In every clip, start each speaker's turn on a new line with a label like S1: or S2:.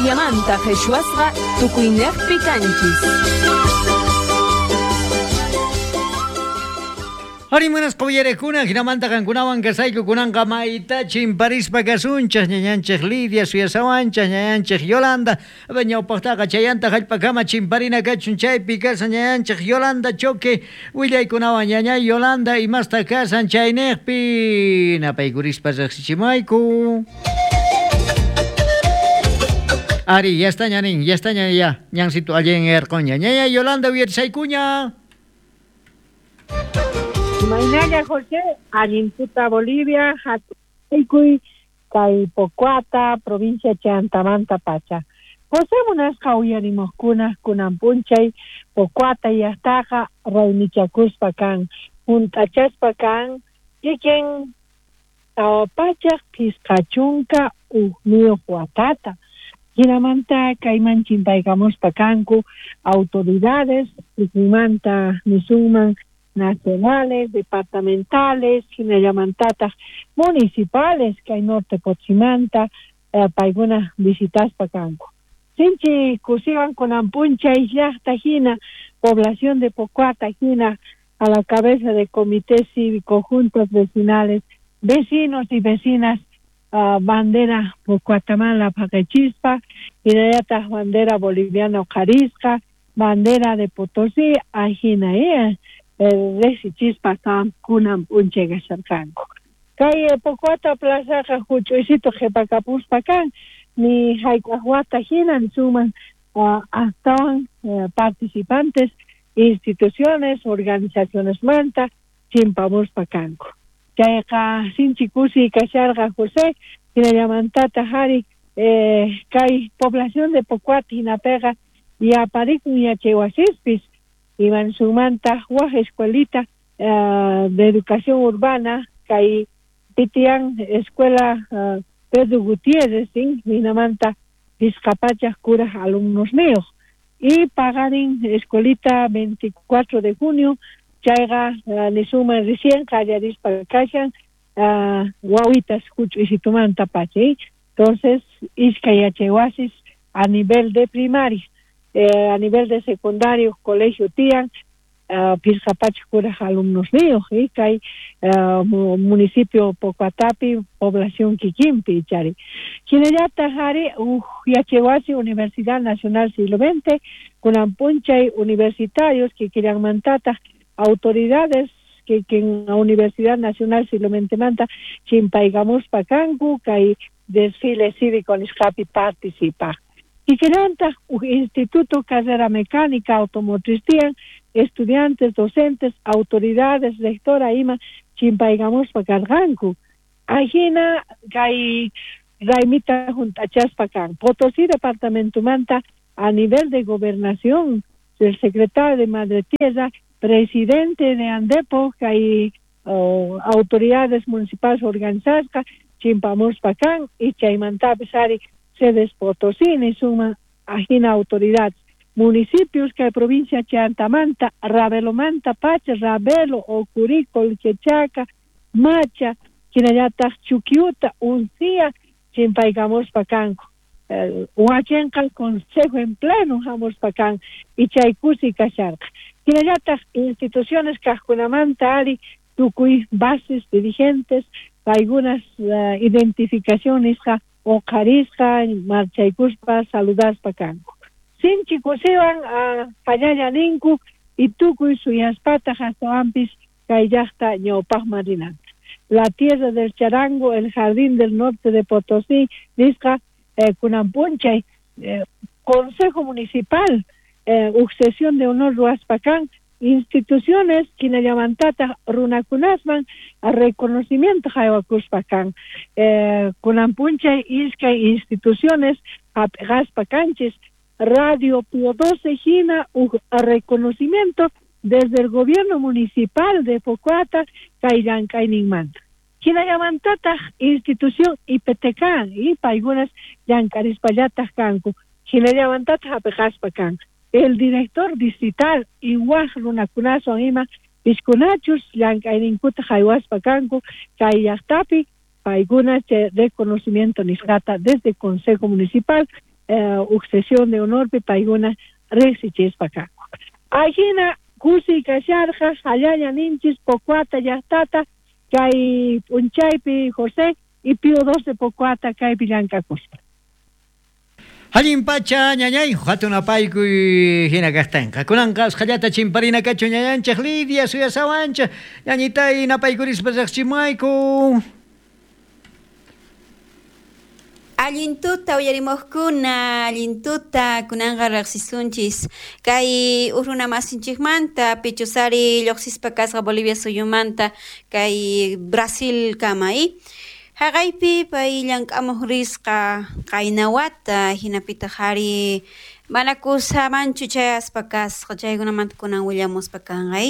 S1: Boliviamanta qhichwasqa tukuyniqpi kanchis.
S2: Ari munasqa uyarekuna, jinamanta qankunawan kasayku kunanqa mayta chimparispa kasunchej, ñañanchej Lidia suyasawanchej, ñañanchej Yolanda, ñawpaqtaqa chayanta jallp'akama chimparina kachun chaypi kasan ñañanchej Yolanda Choque willaykunawan. Ñañay Yolanda, imasta kasan chayniqpi napaykurispa riqsichimayku. Ari, ya está ñanin, ya está ña, ya, ñancito allí en Ercoña. Ñañay Yolanda, uyarisaykuña.
S3: Imaynalla José, allintuta Bolivia, hatuykuy kay Pocoata, provincia Chantamanta pacha. José munasqa uyarimuqkuna kunan p'unchay Pocoata llaqtaqa raymichakuspa kan, hunt'achaspa kan, kikin 451 watata. Hinamanta kayman chimpaykamuspa kanku autoridades, kikinmanta nisunman nacionales, departamentales, hinallamantataq municipales kay norte Potosímanta, paykuna visitaspa kanku. Sinchi kusiwan kunan p'unchay llaqta hina, población de Pocoata hina, a la cabeza de comité cívico, juntas vecinales, vecinos y vecinas, bandera Pocoatamala paqechispa, hinallataq bandera boliviana uqharisqa, bandera de Potosí, ajina, riqsichispa kunan p'unchay kasharqanku. Kay Pocoata plazaqa huch'uysito qhipakapuspa kan, ni hayk'aq wata hina nisunman, astawan participantes, instituciones, organizaciones manta chimpamuspa kanku. Chayqa sinchi kusiy kasharqa José, hinallamantataq ari kay población de Pocoata hinapiqa yaparikun yachaywasispis, imansunmanta waj escuelita de educación urbana kay pitian escuela Pedro Gutiérrez, ¿sí? Hinamanta 500 kuraj alumnos niyuq. Y pagarin escuelita 24 de junio, chayqa nisunman recién qallarispa kashan, wawitas huch'uysitumanta pacha, ¿sí? Entonces, iskay yachaywasis a nivel de primaria, a nivel de secundario, colegio tiyan, 500 kuraj alumnos niyuq, ¿sí? Kay municipio Pocoatapi, población kikinpi chari. Hinallataq ari uj yachaywasi Universidad Nacional Siglo XX, kunan p'unchay universitarios kikillanmantataq autoridades kikin Universidad Nacional Siglo XX chimpaykamuspa kanku kay desfile cívico nisqapi participaq. Kikillantaq uj Instituto Carrera Mecánica Automotriz tiyan, estudiantes, docentes, autoridades, rectora ima chimpaykamuspa karqanku. Ajina kay raymita hunt'achaspa kan. Potosí departamentomanta a nivel de gobernación, el secretario de Madre Tierra, presidente de Andepo, kay autoridades municipales organizadas, chimpamuspa kan, y chaymantapis ari sedes Potosí, nisuma ajina autoridades. Municipios que provincia Chantamanta, Ravelomanta, Pacha, Ravelo, Ocurí, Colquechaca, Macha, hinallataq Chuquiuta, Uncía, chimpaykamuspa kanku. Huachenqa consejo en pleno hamuspa kan, y chaykusi kasharqa. Hinallataq instituciones kaqkunamanta ari tukuy bases dirigentes, algunas identificación nisqa uqharisqa, marchaykuspa, saludaspa kanku. Sinchi kusiwan pallalla ninku y tukuy suyaspataq astawanpis kay llaqta ñawpaqman rinanta. La tierra del charango, el jardín del norte de Potosí, nisqa kunan p'unchay, Consejo Municipal, uj sesión de honor ruwaspa kan, instituciones hinallamantataq runakunasman reconocimiento haywakuspa kan. Kunan p'unchay iskay instituciones hap'iqaspa kanchis, Radio Pío XII hina uj reconocimiento desde el gobierno municipal de Pocoata kay llank'ayninmanta. Hinallamantataq institución IPTK y paykunas llank'arispallataq kanku, hinallamantataq hap'iqaspa kan. El director distrital y waj runakunaswan ima piskunachus llank'ayninkuta haywaspa kanku kay llaqtapi, paykuna chay reconocimiento nisqata desde Consejo Municipal Uj sesión de honorpi paykuna riqsichispa kanku. Ajina kusiy kasharqa jallalla ninchis Pocoata llaqtata kay p'unchaypi José y Pío II de Pocoata kaypi llank'akuspa.
S2: Allin pacha ñañay hatun apaykuy hina kaqtinqa. Kunanqa usqhallata chimparina kachu ñañanchik Lidia suyasawanchik ñañitay napaykurispa riqchimayku.
S4: Allin tuta uyarimuqkuna, allin tuta kunanqa riqsisunchis kay huk runa masinchikmanta pichusari lluqsispa kasqa Bolivia suyumanta kay Brasil kama haqaypi pay llank'amuq risqa qaynawata hinapitaq ari mana kusamanchu chayaspa kasqa chaykunamanta kunan willamuspa kanqa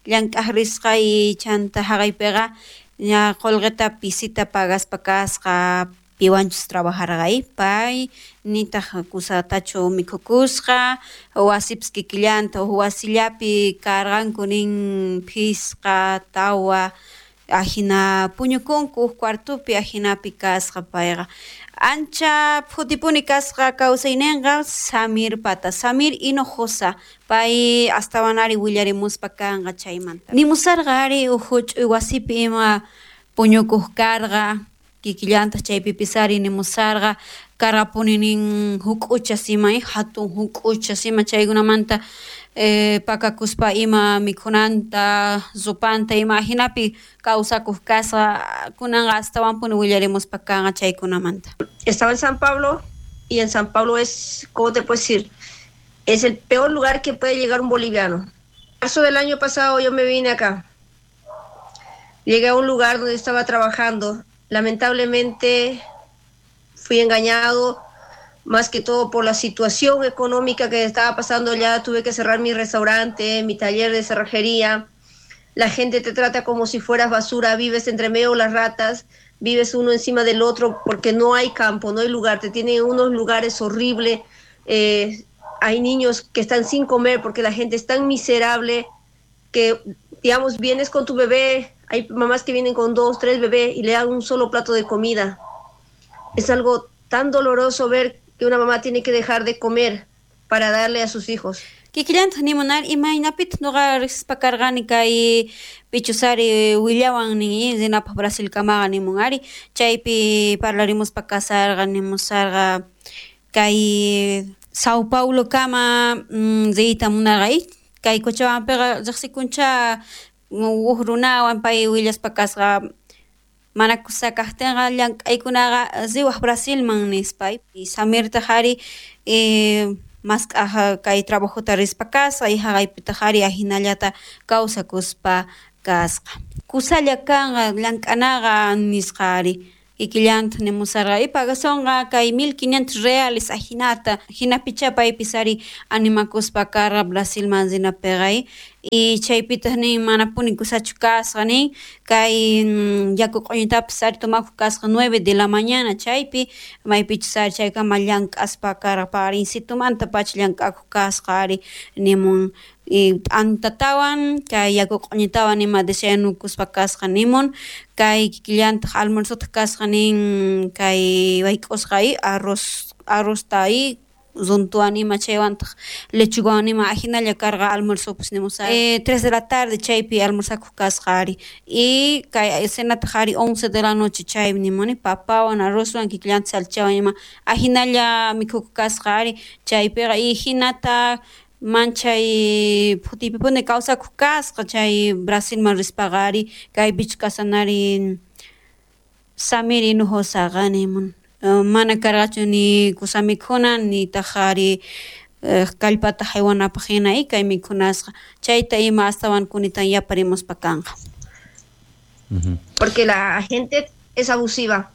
S4: llank'aq risqa chanta haqaypiqa ña qullqita pisita pagaspa kasqa piwanchus trabajarqa pay nitaq kusatachu mikhukusqa wasipis kikillanta huk wasillapi karqanku nin phisqa tawa ajina puñukunku huk cuartopi ajinapi kasqa payqa ancha phutipuni kasqa kawsayninqa Samir pata Samir Hinojosa pay astawan ari willarimuspa kanqa chaymanta nimusarqa ari huk huch'uy wasipi ima puñukuq karqa kikillantaq chaypipis ari nimusarqa karqapuni nin huk'uchas ima hatun huk'uchas ima chaykunamanta pakakuspa ima mikhunanta rupanta ima ajinapi kawsakuq kasqa kunanqa astawanpuni willarimuspa kanqa chaykunamanta.
S5: Estaba en San Pablo y en San Pablo es, ¿cómo te puedo decir? Es el peor lugar que puede llegar un boliviano. Marzo del año pasado yo me vine acá. Llegué a un lugar donde estaba trabajando. Lamentablemente fui engañado, más que todo por la situación económica que estaba pasando allá. Tuve que cerrar mi restaurante, mi taller de cerrajería. La gente te trata como si fueras basura, vives entre medio de las ratas, vives uno encima del otro porque no hay campo, no hay lugar, te tienen unos lugares horribles. Hay niños que están sin comer porque la gente es tan miserable que, digamos, vienes con tu bebé, hay mamás que vienen con 2, 3 bebés y le dan un solo plato de comida. Es algo tan doloroso ver que una mamá tiene que dejar de comer para darle a sus hijos.
S4: Kikillantaq nimunar imaynapitaq nuqa riqsispa karqani kay pichusari willawan nin rinapaq Brasilkamaqa nimun ari chaypi parlarimuspa kasarqa nimusarqa kay Sao Paulo kama riyta munarqa kay Cochabampiqa riqsikuncha huk runawan pay willaspa kasqa mana kusa kaqtinqa llank'aykunaqa riwaq Brasilman nispa Samirtaq ari mask'aj kay trabajota rispa kasqa y haqaypitaq ari ajinallata kawsakuspa kasqa kusalla kanqa llank'anaqa nisqa ari kikillantaq nimusarqa y pagasonqa kay 1500 reales ajinata hinapicha paypis ari animakuspa karqa Brasilman rinapiqa y chaypitaq nin manapuni kusachu kasqa nin kay yaku q'uñitapis ari tomakuq kasqa 9 de la mañana chaypi maypichus ari chaykama llank'aspa karqa paqarinsitumanta pacha llank'akuq kasqa ari nimun y t'antatawan kay yaku q'uñitawan ima desayunukuspa kasqa nimun kay kikillantaq almuerzotaq kasqa nin kay wayk'usqa arrozta runtuwan ima chaywantaq lechugawan ima ajinalla karqa almuerzopis nimusaq 3 de la tarde chaypi almorzakuq kasqa ari y kay cenataq ari 11 de la noche chaypi nimuni papawan arrozwan kikillantaq salchichawan ima ajinalla mikhukuq kasqa ari chaypiqa y hinata manchay phutipipuni kawsakuq kasqa chay Brasilman rispaqa ari kaypichu kasanari Samir Hinojosaqa nimun mana karqachu ni kusa mikhuna nitaq ari kallpata haywanapaq hina kay mikhunasqa chayta ima astawan kunitan yaparimuspa kanqa.
S5: Porque la gente es abusiva.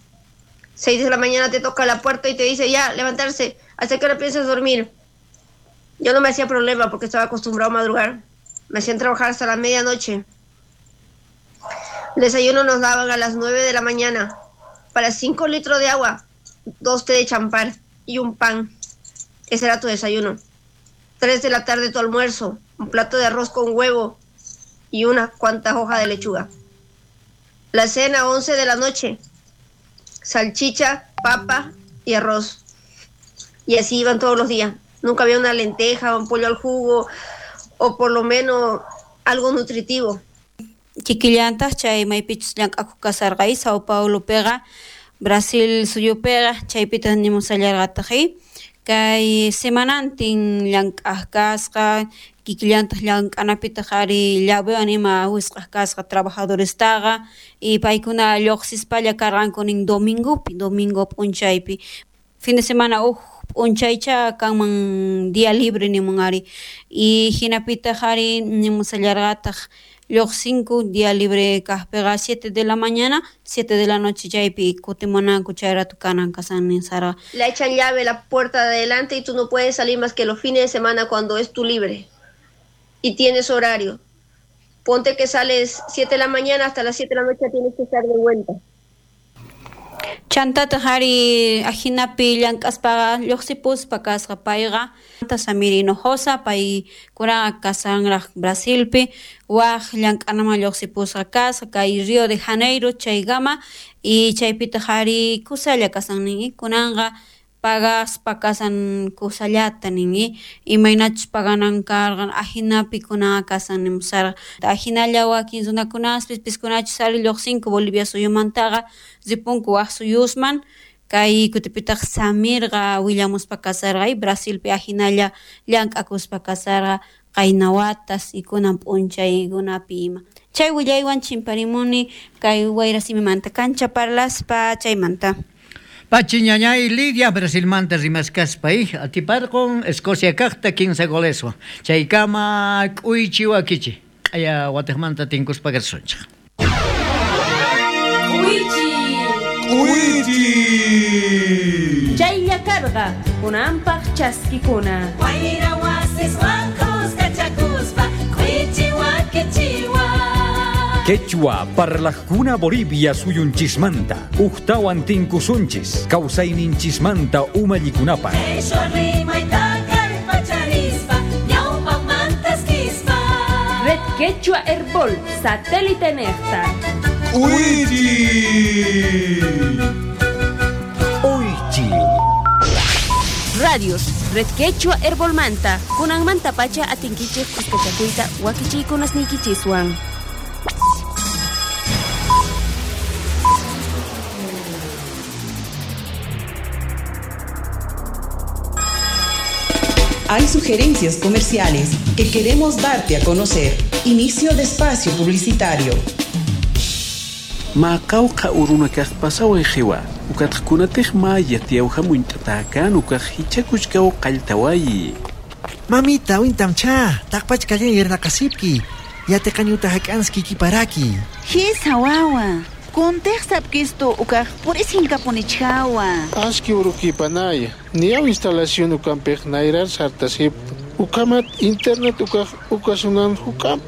S5: 6 de la mañana te toca la puerta y te dice ya, levantarse, ¿hasta qué hora piensas dormir? Yo no me hacía problema porque estaba acostumbrado a madrugar. Me hacían trabajar hasta la medianoche. El desayuno nos daban a las 9 de la mañana. Para 5 litros de agua, 2 té de champán y un pan. Ese era tu desayuno. 3 de la tarde tu almuerzo, un plato de arroz con huevo y unas cuantas hojas de lechuga. La cena, 11 de la noche, salchicha, papa y arroz. Y así iban todos los días. Nunca había una lenteja, un pollo al jugo o por lo menos algo nutritivo.
S4: Kikillantaq chay maypichus llank'akuq kasarqa Sao Paulopiqa, Brasil suyupiqa, chaypitaq nimusallarqataq kay semanantin llank'aq kasqa, kikillantaq llank'anapitaq ari llavewan ima wisq'aq kasqa trabajadorestaqa y paykuna lluqsispalla karqanku nin domingopi, domingo p'unchaypi. Fin de semana uj p'unchaycha kanman día libre nimun ari y hinapitaq ari nimusallarqataq lluqsinku día libre kaqpiqa 7 de la mañana, 7 de la noche chaypi kutimunanku chay rato kanan kasan ninsarqa.
S5: Le echan llave a la puerta de adelante y tú no puedes salir más que los fines de semana cuando es tu libre y tienes horario. Ponte que sales 7 de la mañana hasta las 7 de la noche tienes que estar de vuelta.
S4: Chantataq ari ajinapi llank'aspaqa lluqsipuspa kasqa payqa Samir Hinojosa paykunaqa kasanraq Brasilpi waj llank'anaman lluqsipusqa kasqa kay Rio de Janeiro chaykama y chaypitaq ari kusalla kasan nin kunanqa pagaspa kasan kusallata nin imaynachus paganan karqan ajinapi kunaqa kasan nimusarqa ajinalla wakin runakunaspis piskunachus ari lluqsinku Bolivia suyumantaqa ripunku waj suyusman kay kutipitaq Samirqa willamuspa kasarqa y Brasilpi ajinalla llank'akuspa kasarqa qayna watas y kunan p'unchaykunapi ima. Chay willaywan chimparimuni kay wayrasimimanta kancha parlaspa chaymanta.
S2: Pachi ñañay Lidia Brasilmanta rimaskaspa atiparqun Escocia kaqta 15 goleswan chaykama k'uychi wakichi q'aya watiqmanta tinkuspa kasunchik.
S1: K'uychi
S6: K'uychi
S1: Chaylla karqa kunanpaq chaskikuna.
S7: Wayra wasiswan kuskachakuspa k'uychi wakichiwa.
S6: Quechua parlajkuna Bolivia suyunchismanta ujtawan tinkusunchis kawsayninchismanta umallikunapaq.
S7: Qheshwa rimayta kallpacharispa ñawpaqmantas kispa.
S1: Red Quechua Herbol satélite nejta.
S6: K'uychi Uychi.
S1: Radios Red Quechua Herbolmanta kunanmanta pacha atinkichik kuskachakuyta wakichiykunasniykichiswan.
S8: Hay sugerencias comerciales que queremos darte a conocer. Inicio de espacio publicitario.
S9: Maqawqa urunakaq pasawan qiwa ukatqkunataq maya tiyawhamunt'atakan ukaq hichakuchkaw qalltawayi.
S10: Mamita wintamcha taqpachkallan yernaqasipki yatiqañuta hak'anski kiparaki.
S11: Hisa wawa kuntiq sapkistu ukaq purisinkapunich-hawa.
S12: Aski urukipanaya niyaw instalación ukampiq nayrar sartasip ukamat internet ukaq ukasunan hukam.